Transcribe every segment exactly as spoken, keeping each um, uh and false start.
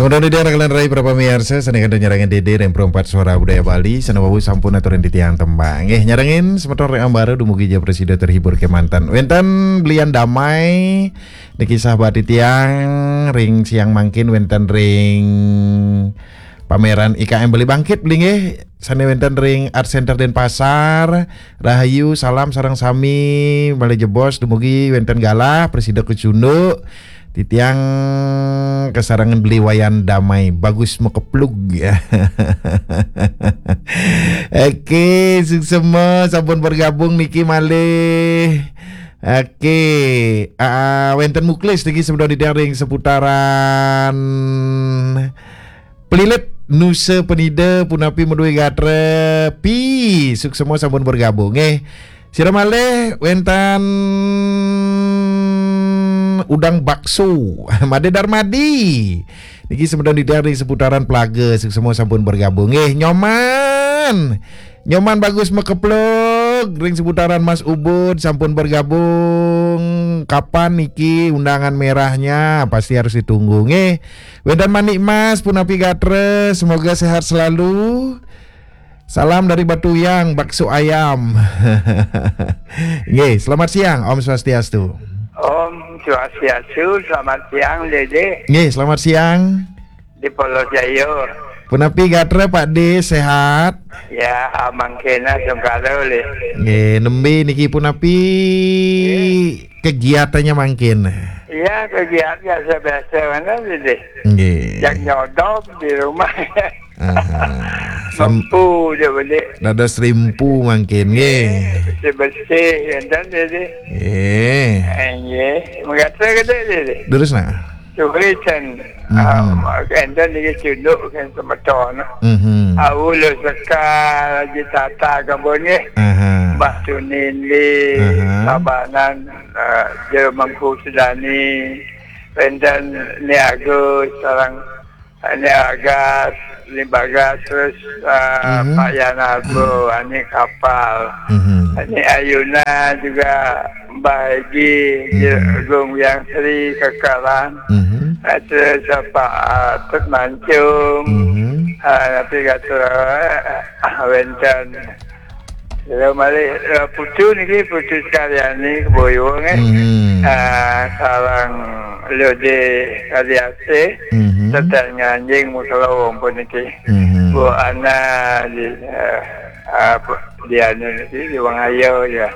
Mudah-mudahan kalian rai para pamirsa, sané kada nyarengin Dédé ring Perempat Suara Budaya Bali, sané wau sampun aturin titiang tembang. Nggih, nyarengin semeton ring ambara dumugi ja prasida terhibur kémanten. Wénten belian damai, niki sahabat titiang ring siang mangkin wénten ring pameran I K M Bali Bangkit beli nggih, sané wénten ring Art Center Denpasar. Rahayu, salam sareng sami, malih jebos dumugi wénten galah, prasida kacunduk. Titiang kasarengin beli Wayan Damai, bagus makeplug. Oke, suksema sampun bergabung niki malih. Oke, ah, wénten muklis niki semeton titiang ring seputaran Pelilit, Nusa Penida, punapi madué gatra, Pi, suksema sampun bergabung nggih. Sira malih wénten udang bakso, Madé Darmadi. Niki semeton titiang ring seputaran Pelaga, suksema sampun bergabung nggih. Nyoman, Nyoman bagus makeplug ring seputaran Mas Ubud sampun bergabung. Kapan niki undangan merahnya? Pasti harus ditunggu nggih. Wénten Manik Mas, punapi gatra, semoga sehat selalu. Salam dari Batuyang, bakso ayam. Nggih, selamat siang, Om Swastiastu. Om Swastiastu, selamat siang, Dédé. Nggih, selamat siang. Di Polos Jaya. Punapi gatra, Pak Dé, sehat? Ya, mangkin sungkara ulih. Nggih, nembé niki punapi kegiatannya mangkin? Ya, kegiatan biasa-biasa mana, Dédé? Nggih. Yang nyodop di rumah. Aha. Sam- Sempu je beli. Dados rimpu mangkin, nggih. Bersih-bersih, enten, Dédé. Nggih. Eh, nggih. Mengata ke, Dédé? Terus, nah. Sugri can, Mhm. Ah, enten niki cunduk kan semeton. Mhm. Au Lu Sekar, Haji Tata Kebun nggih. Aha. Mbah Tunindi, Aha. Tabanan, ah, Jero Mangku Sudani, wénten Ni Agus, sareng Ni Agas, Ni Bagas, terus, ah, Mhm. Pak Yanarbo, Ani Kapal, Mhm. Ani Ayuna juga Mbah Egi, Mhm. Agung Yang Sri Kekaran, Mhm. eh, terus, eh, Pak, eh, Tut Mancung, Mhm. eh, tapi kata, eh, wénten. Kira malih, eh, putu niki, Putu Sekaryani, Keboyong, eh. Mhm. Eh, sareng Lode Kaliasih, Mhm. serta nganjing Musalawong puniki. Mhm. Bu Ana di, eh, apa, di anu niki, di Wangaya ya.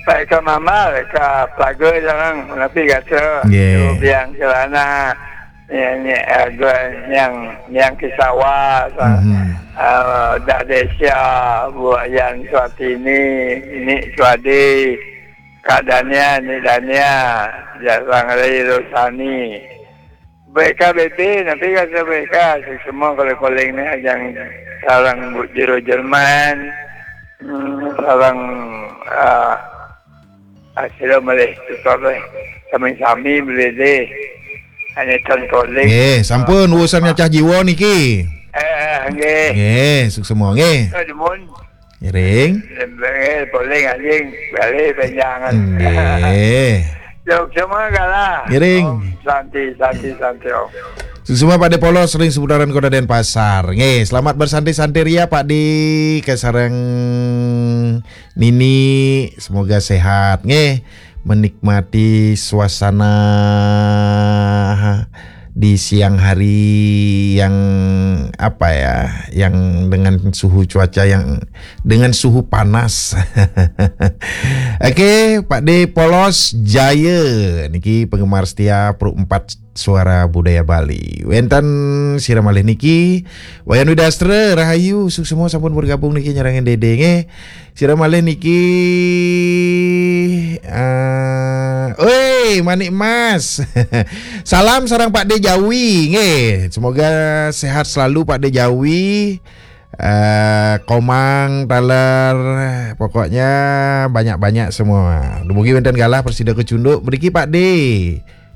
Pak Eka Mamal, ka Plaga sareng, napi gatra. Nggih. Biang Celana, ini, ini, eh, gua yang, yang Kisawa, sa-, Mhm. eh, Dah Desya, Bu Yan Suatini, ini Suadi, Kak Dania, ini Dania, Jasang Rai Rosani. B K B B, napi gatra B K, semua koleng-koleng ni, yang sareng Bu Jero Jerman, hmm, sareng, ah, ah, sira malih tutur, eh. Sami-sami beli deh. Hanya tan koleng. Nggih, sampun, urusan nyacah jiwa niki. Eh, nggih. Nggih, suksema, nggih. Nuwun. Ngiring. Nggih, koleng anjing, bali panjangan. Nggih. Jog semua galah. Ngiring. Om Santi, Santi, Santi, Om. Suksema Pak Dé Polos ring seputaran Kota Denpasar. Nggih, selamat bersantai-santai ria Pak Dé, kasareng Nini, semoga sehat. Nggih, menikmati suasana di siang hari yang, apa ya, yang dengan suhu cuaca yang, dengan suhu panas. Oke, Pak Dé Polos Jaya niki penggemar setia Pro empat Suara Budaya Bali. Wénten sira malih niki, Wayan Widastra, rahayu, suksema sampun bergabung niki nyarengin Dédé nggih. Sira malih niki, eh, oi, Manik Mas. Salam sareng Pak Dé Jawi nggih. Semoga sehat selalu Pak Dé Jawi. Eh, Komang, taler, pokoknya banyak-banyak semua. Dumugi wénten galah prasida kacunduk mriki Pak Dé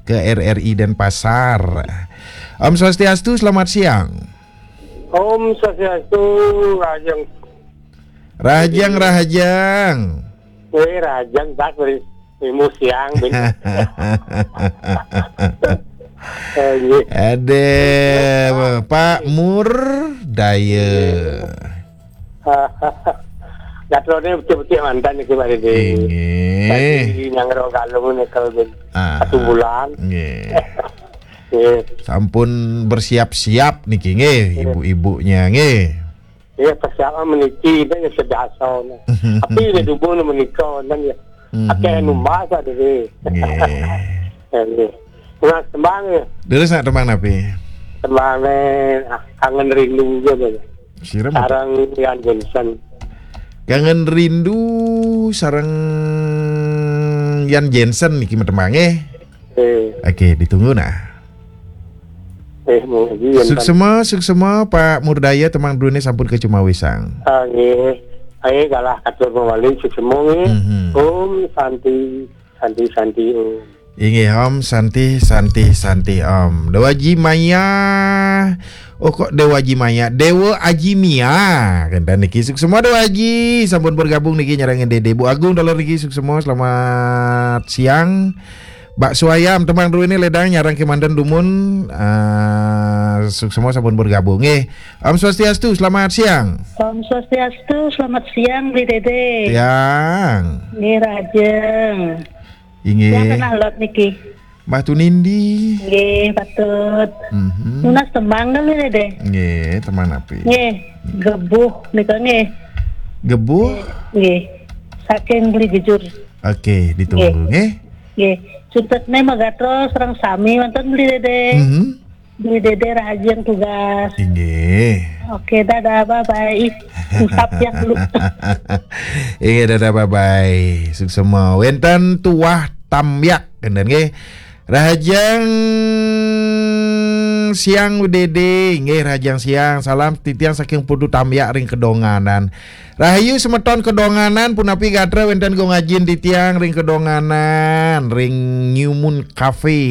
ke R R I Denpasar. Om Swastiastu, selamat siang. Om Swastiastu, Rajang. Rahajeng, rahajeng. Eh, Rajang, tak beri. Imu siang, bin. Eh, nggih. Ada Pak Mur Daya. Gatrone becik-becik mantan niki, Pak Dede. Inggih. Tadi nyangro kalung nikel ben Ah. Satu bulan. Nggih. Nggih. Sampun bersiap-siap niki nggih, Nggih. Ibu-ibunya nggih. Iya, persiapan meniki, itu ya sedasa. Tapi ya dubung menika wonten ya. Mhm. Akeh numpak, Pak Dede. Nggih. Ya, nggih. Mas tembang ya. Terus nak tembang napi? Tembang, ah, Kangen Rindu gitu ya. Sira mboten? Sareng Ian Jensen. Kangen Rindu sareng Ian Jensen niki tembang nggih. Eh, Oke, ditunggu nah. eh, monggo, Ian Jensen. Suksema, suksema Pak Murdaya, tembang drone sampun kecumawisang. Ah, nggih. Ayo kalah katur mawali suksema nggih. Mhm. Om Santi, Santi, Santi Om. Inggih Om Santi, Santi, Santi Om. Dewa Aji Maya. Oh, kok Dewa Aji Maya? Dewa Aji Mia. Kenten niki suksema Dewa Aji. Sampun bergabung niki nyarengin Dede. Bu Agung taler niki suksema. Selamat siang. Mbak Suayam, tembang drone ledang nyarengke manten dumun. Ah, suksema sampun bergabung. Nggih. Om Swastiastu, selamat siang. Om Swastiastu, selamat siang, Bli Dede. Siang. Nggih, Rajeng. Inggih. Silakan alot niki. Mbah Tunindi. Nggih, patut. Mhm. Nunas tembang kan, Bli Dede? Nggih, tembang napi? Nggih, Gebuh nika nggih. Gebuh? Nggih. Saking Beli Gejur. Oke, ditunggu nggih. Nggih. Nggih. Suksesne magatro sareng sami wonten, Beli Dede. Mhm. Beli Dede, rahajeng tugas. Inggih. Oke, dadah, bye bye. Usap ya dulu. Inggih, dadah, bye bye. Suksema. Wenten Tuah Tambyak kenten nggih. Rahajeng siang, Dede. Nggih, rahajeng siang. Salam titiang saking Putu Tambyak ring Kedonganan. Rahayu semeton Kedonganan, punapi gatra wenten gong ajin titiang ring Kedonganan, ring New Moon Cafe.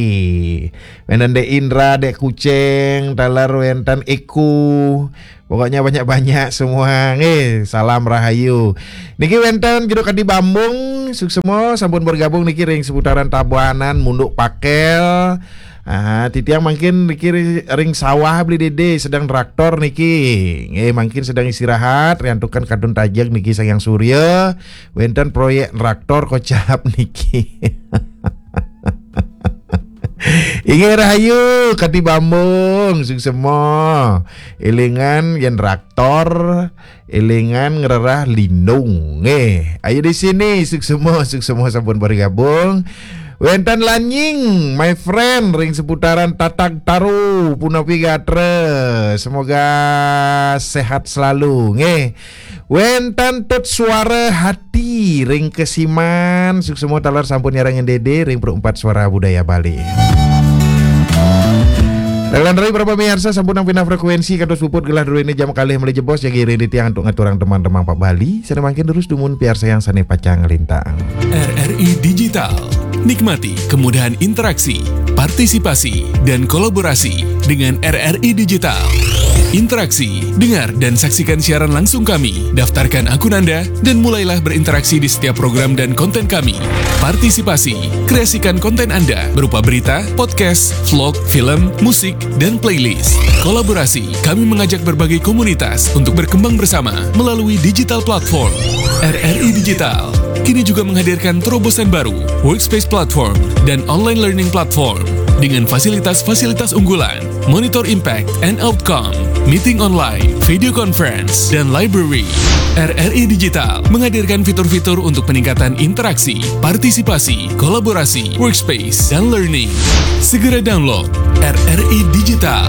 Wenten Dek Indra, Dek Kucing, taler wenten Eko. Pokoknya banyak-banyak semua nggih. Salam rahayu. Niki wenten Jero Kadi Bambung, suksema sampun bergabung niki ring seputaran Tabanan, Munduk Pakel. Ah, titiang mangkin niki ri-, ring sawah Beli Dede sedang traktor niki. Nggih, mangkin sedang istirahat, riantukan kadun tajeg niki Sang Hyang Surya, wenten proyek traktor kocap niki. Inggih rahayu, Kadi Bambung, suksema. Elingan yen traktor, elingan ngrerah lindung. Nggih, ayo di sini, suksema, suksema sampun bergabung. Wenten Lanying, my friend, ring seputaran Tatag Taru, punapi gatra. Semoga sehat selalu, nggih. Wenten Tut Suara Hati, ring Kesiman, suksema taler sampun nyarengin Dede, ring Pro empat Suara Budaya Bali. Dalan rai para pamiarsa sampun nang pinah frekuensi kados puput gelah druene jam kalih meli jebos jagi ring titiang untuk ngaturang teman-teman Pak Bali. Sane mangkin terus dumun piarsa yang sane pacang nglintang. R R I Digital. Nikmati kemudahan interaksi, partisipasi, dan kolaborasi dengan R R I Digital. Interaksi, dengar dan saksikan siaran langsung kami, daftarkan akun Anda, dan mulailah berinteraksi di setiap program dan konten kami. Partisipasi, kreasikan konten Anda berupa berita, podcast, vlog, film, musik, dan playlist. Kolaborasi, kami mengajak berbagai komunitas untuk berkembang bersama melalui digital platform. R R I Digital kini juga menghadirkan terobosan baru, Workspace Platform, dan Online Learning Platform dengan fasilitas-fasilitas unggulan, monitor impact and outcome, meeting online, video conference, dan library. R R I Digital menghadirkan fitur-fitur untuk peningkatan interaksi, partisipasi, kolaborasi, workspace, dan learning. Segera download R R I Digital.